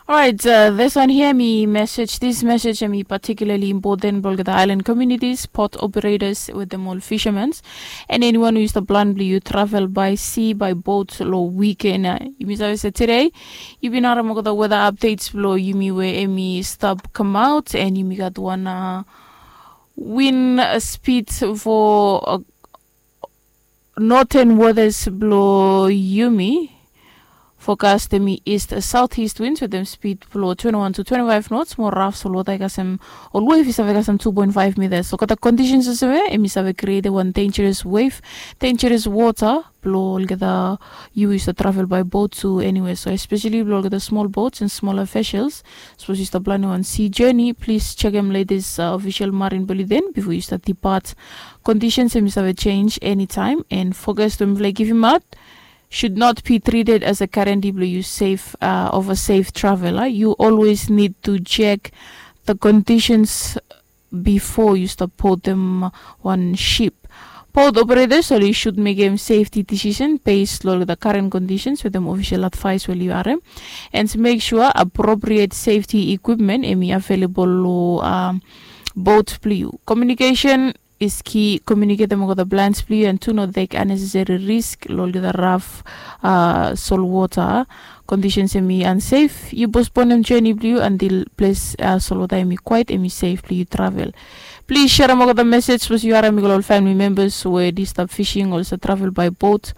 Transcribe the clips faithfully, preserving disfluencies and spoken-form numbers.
Orait, this wan hia mi mesej, this mesej em i patikulali impoten blong olgeta aelan komunitis, pot operetas wetem ol fishermans, and eniwan we yu stap plan blong yu travel by sea by boat long wiken. Yumi save se tude yumi bin harem olgeta weta apdets blong yumi we em i stap kamaot, and yumi gat wan win spid for noten wotas blong yumi. Fokas dem i east southeast winds wetem spid blong twenty-one to twenty-five knots. Mo raf solwota i kasem ol wave i save kasem two point five meters. So olgeta kondisens olsem ya em i save krietem wan dangeros wave, dangeros wota blong olgeta yu we yu stap travel by boat to anywhere. So especially blong olgeta smol boats and smaller vessels, sapos yu stap planem wan sea journey, plis jekem letes ofisel marin bulletin bifo yu stap dipat. Kondisens em i save jenj enitaem, and fokas we mifala i givimaot should not be treated as a guarantee blong yu safe, uh, of a safe travel. Uh. You always need to check the conditions before you stop boarding one ship. Boat operators oli should mekem safety decision based long the current conditions wetem official advice we oli harem, and make sure appropriate safety equipment em i available long, um, boat blong yu. Communication is key. Communicatem olgeta plans blong yu, and tu no tek unnecessary risk long olgeta raf, uh, solwota. Conditions em i unsafe, yu postponem journey blong yu until ples, uh, solwota em i kwaet, em i safe blong yu travel. Plis serem olgeta mesej sapos yu harem i go long ol family members we oli stap fishing o oli stap travel by boat,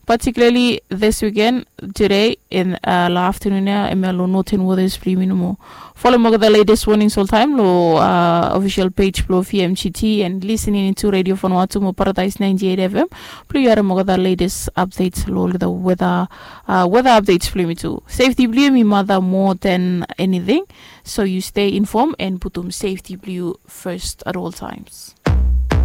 particularly this weekend, today, and, uh, long afternoon ya, em ya long northern waters blong yumi nomo. Folem olgeta latest warnings oltaem long, uh, official page blong V M G T, and listening into Radio Vanuatu mo Paradise ninety-eight F M blong yu harem olgeta latest updates long olgeta weather, uh, weather updates blong yumi tu. Safety blong yu em i mata more than anything, so yu stay informed and putum safety blong yu first at all times.